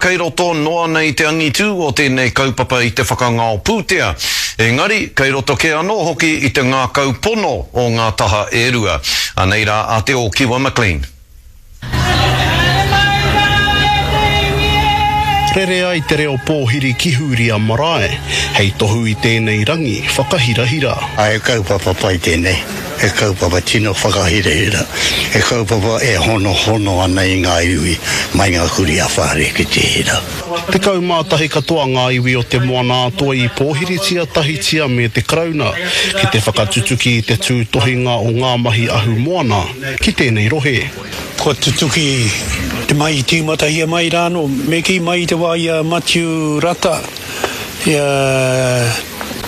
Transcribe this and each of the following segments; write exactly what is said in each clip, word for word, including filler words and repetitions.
Kei roto noa nei te angitū o tēnei kaupapa i te whakangao pūtea. Engari, kei roto kē anō hoki i te ngākau pono o ngā taha e rua. Anei rā a Te Ōkiwa McLean. Rere ai te reo pōhiri ki Hūria marae, hei tohu i tēnei rangi whakahirahira. He kaupapa pai tēnei, he kaupapa tino whakahirahira, he kaupapa e honohono ana i ngā iwi mai ngā kurī a Whare ki te hira. Tekau mā tahi katoa ngā iwi o Te Moana-a-Toi i pōhiritia tahitia me te Karauna ki te whakatutuki i te tūtohinga o ngā mahi ahumoana ki tēnei rohe. Kua tutuki te mahi i tīmatahia mai rā anō, me kī mai i te wā i a Matiu Rata, i a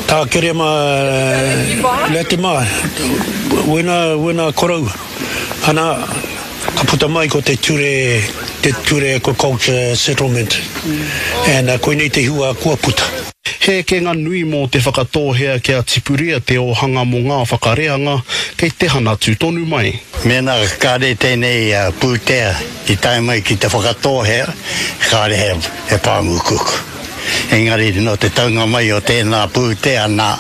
Tā Kerema Latimer, wēnā, wēnā koroua. Ana, ka puta mai ko te ture, te ture Aquaculture Settlement, and koinei te hua kua puta. He ekenga nui mō Te Whakatōhea kia tipuria te ōhanga mō ngā whakareanga kei te hanatu tonu mai. Mēnā kāre tēnei pūtea i tae mai ki Te Whakatōhea, kāre he pāmu kuku. Engari nō te taunga mai o tēnā pūtea nā,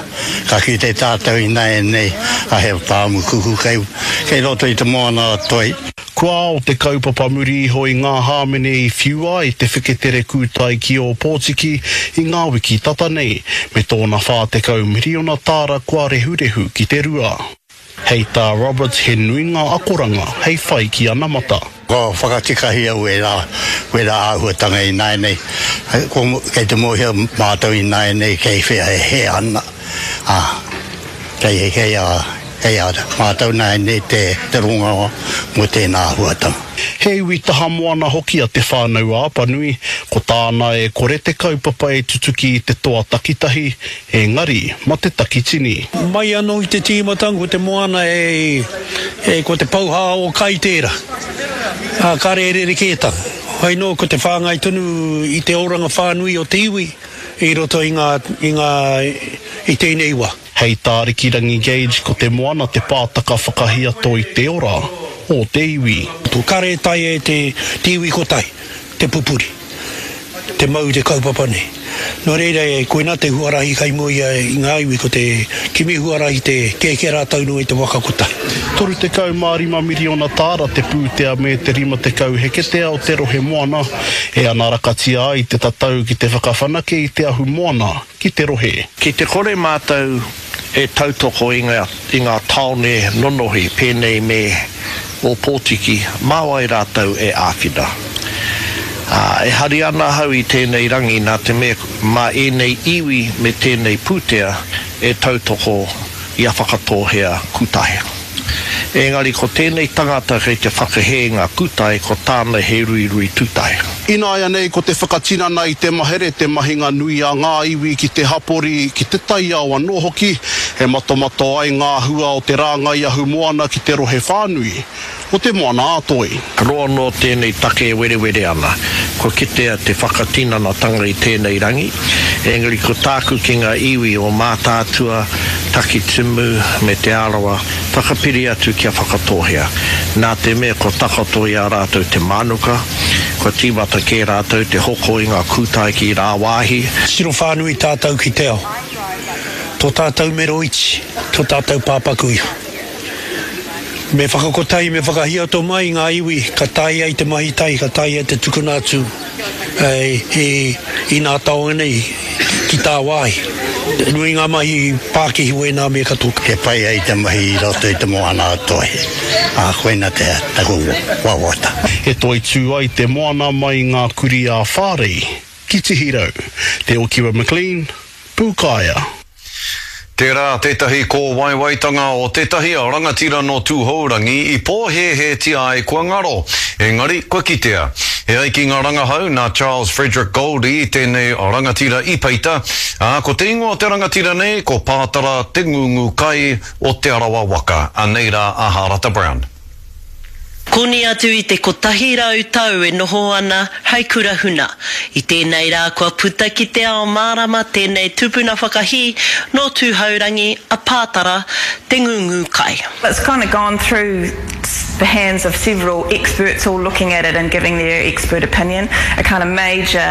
ka kite tātou ināianei a he pāmu kuku kei roto i te moana o Toi. Kua ao te kaupapa muri iho i ngā hāmene i whiua ai te wheketere kūtai ki Ōpōtiki i ngā wiki tata nei, me tōna whā tekau miriona tāra kua rehurehu ki te rua. Hei tā Roberts he nui ngā akoranga hei whai ki anamata. Kua whakatikahia wērā, wērā āhuatanga ināianei. Kei te mōhio mātou ināianei kei whea e hē ana, ā, kei, kei a. Kei a mātou nāianei te te rongoa mō tēnā āhuatanga. He iwi taha moana hoki a Te Whānau-a-Apanui, ko tāna e kore te kaupapa e tutuki i te toa takitahi, engari ma te takitini. Mai anō i te tīmatanga ko te moana e, e ko te pouhā o kai tērā, ā, kāre e rerekētanga. Hoi nō ko te whāngai tonu i te oranga whānui o te iwi i roto i ngā, i ngā, i tēnei wā. Hei tā Rikirangi Gage ko te moana te pātaka whakahiato i te ora o te iwi. Kare taea e te iwi kotahi te pupuri, te mau i te kaupapa nei. Nō reira, koinā te huarahi kai mua i ngā iwi ko te kimi huarahi te kēkē rātou noa i te waka kotahi. Toru tekau mā rima miriona tāra te pūtea me te rima tekau heketea o te rohe moana e anarakatia ai te tatau ki te whakawhanake i te ahumoana ki te rohe. Ki te kore mātou e tautoko i ngā, i ngā tāone nonohi pēnei me Ōpōtiki, mā wai rātou e āwhina? Ā, e hari ana ahau i tēnei rangi nā te mea mā ēnei iwi me tēnei pūtea e tautoko i a Whakatōhea Kūtahe. Engari ko tēnei tangata kei te whakahē ngā kūtae, ko tāna he ruirui tūtae. Ināianei ko te whakatinana i te mahere te mahinga nui a ngā iwi ki te hapori, ki te taiao anō hoki, e matomato ai ngā hua o te rāngai ahumoana ki te rohe whānui o Te Moana-a-Toi. Roa noa tēnei take e werewere ana. Kua kitea te whakatinanatanga i tēnei rangi, engari ko tāku ki ngā iwi o Mātaatua, Takitimu me Te Arawa, whakapiri atu kia Whakatōhea. Nā te mea kua takoto i a rātou te mānuka, kua tīmata kē rātou te hoko i ngā kūtae ki rāwāhi. Tiro whānui tātou ki te ao. Tō tātou mero iti, tō tātou pāpaku iho. Me whakakotahi, me whakahiato mai ngā iwi ka taea ai te mahi tahi, ka taea ai te tukuna atu i nā taonga nei ki tāwāhi. Nui ngā mahi pākihi wēnā me katoa. He pai ai te mahi i roto i te moana a Toi, ā, koina te taku wawata. E toitū ai te moana mai i ngā kurī ā-Whārei ki Tihirau. Te Okiwa McLean, Pūkaea. Tērā tētahi kōwaiwaitanga o tētahi rangatira nō Tūhourangi i pōhēhētia ai kua ngaro, engari kua kitea. E ai ki ngā rangahau, nā Charles Frederick Goldie tēnei rangatira i peita, ā, ko te ingoa o te rangatira nei ko Pātara Te Ngungu Kai o Te Arawa waka. Anei rā a Hārata Brown. Koni atu i te kotahi rau tau e noho ana hei kura huna. I tēnei rā kua puta ki te ao mārama tēnei tupuna whakahī nō Tūhourangi a Pātara Te Ngūngūkai. It's kind of gone through the hands of several experts all looking at it and giving their expert opinion. A kind of major